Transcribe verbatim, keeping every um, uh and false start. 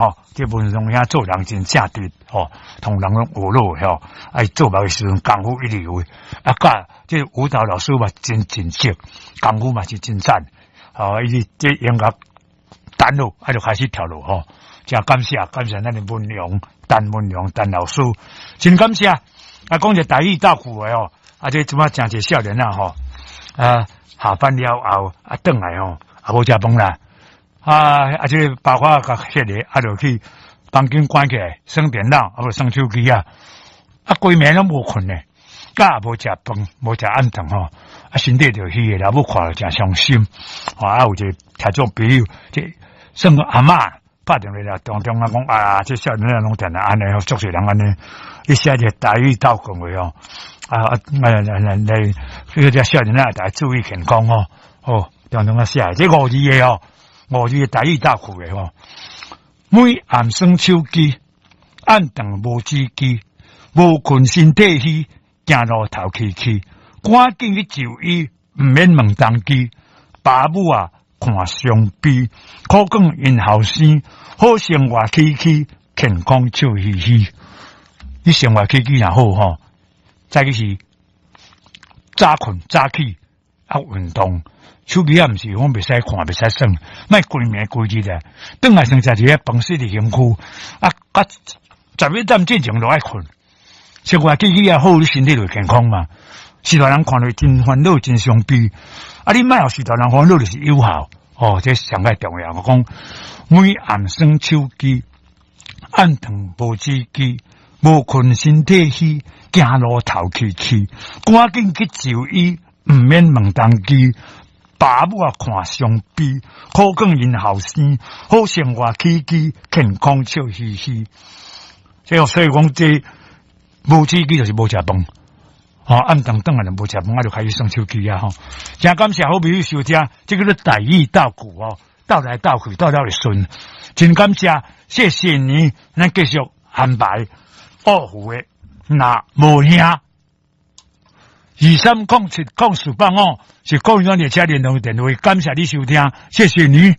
吼，這文榮兄做人真正直，吼，同人攏學樂吼，啊，做夢的時陣功夫一流的，啊，佮這舞蹈老師嘛真盡職，功夫嘛是真讚，吼，伊這音樂彈落，啊，就開始跳落吼，真感謝，感謝咱的文榮，陳文榮陳老師，真感謝。啊，講一個台語鬥句的吼，啊，這這擺誠濟少年仔吼，啊，下班了後啊，轉來吼，啊，無食飯啦。啊啊！這個包括共彼个啊，就去房間關起來，耍電腦，啊無耍手機啊，啊，規暝攏無睏咧，佮也無食飯，無食暗頓吼，啊，身體就虛的，老母看了誠傷心。啊，有一個聽眾朋友，這算個阿嬤拍電話來，當中啊講啊，這少年仔攏定定按呢，足濟人按呢，伊寫一個台語鬥句話哦，啊啊來來來來，這個少年仔大家注意健康哦，哦，當中啊寫，這五字的哦。五字台語鬥句的吼，每暗耍手機，暗頓無止機，無睏身體虛，行路頭氣氣，趕緊去就醫，毋免問東西，爸母啊看傷悲，苦講𪜶後生，好生活起居，健康笑嘻嘻。你生活起居若好吼，早起是早睏早起啊運動。手機也毋是講袂使看，袂使耍，莫規暝規日的。轉來先食一个飯，洗佇身軀，啊，啊，十一點進前就愛睏。生活起居也好，你身體就會健康嘛。序大人看著真煩惱，真傷悲。啊，你莫予序大人煩惱，就是有效。哦，這上蓋重要。我講每暗耍手機，暗頓無止機，無睏身體虛，行路頭氣氣，趕緊去就醫，毋免問東西。爸母啊看傷悲，苦講𪜶後生，好生活起居，健康笑嘻嘻。這所以講，這無止機就是無食飯。吼，暗頓轉來就無食飯，啊就開始耍手機啊！吼，誠感謝好朋友收聽，這個叫台語鬥句哦，鬥來鬥去，鬥了會順。真感謝，謝謝你，咱繼續安排奧湖的若無兄。二三空七空四八五是個人列車聯絡電話，感謝你收聽，謝謝你。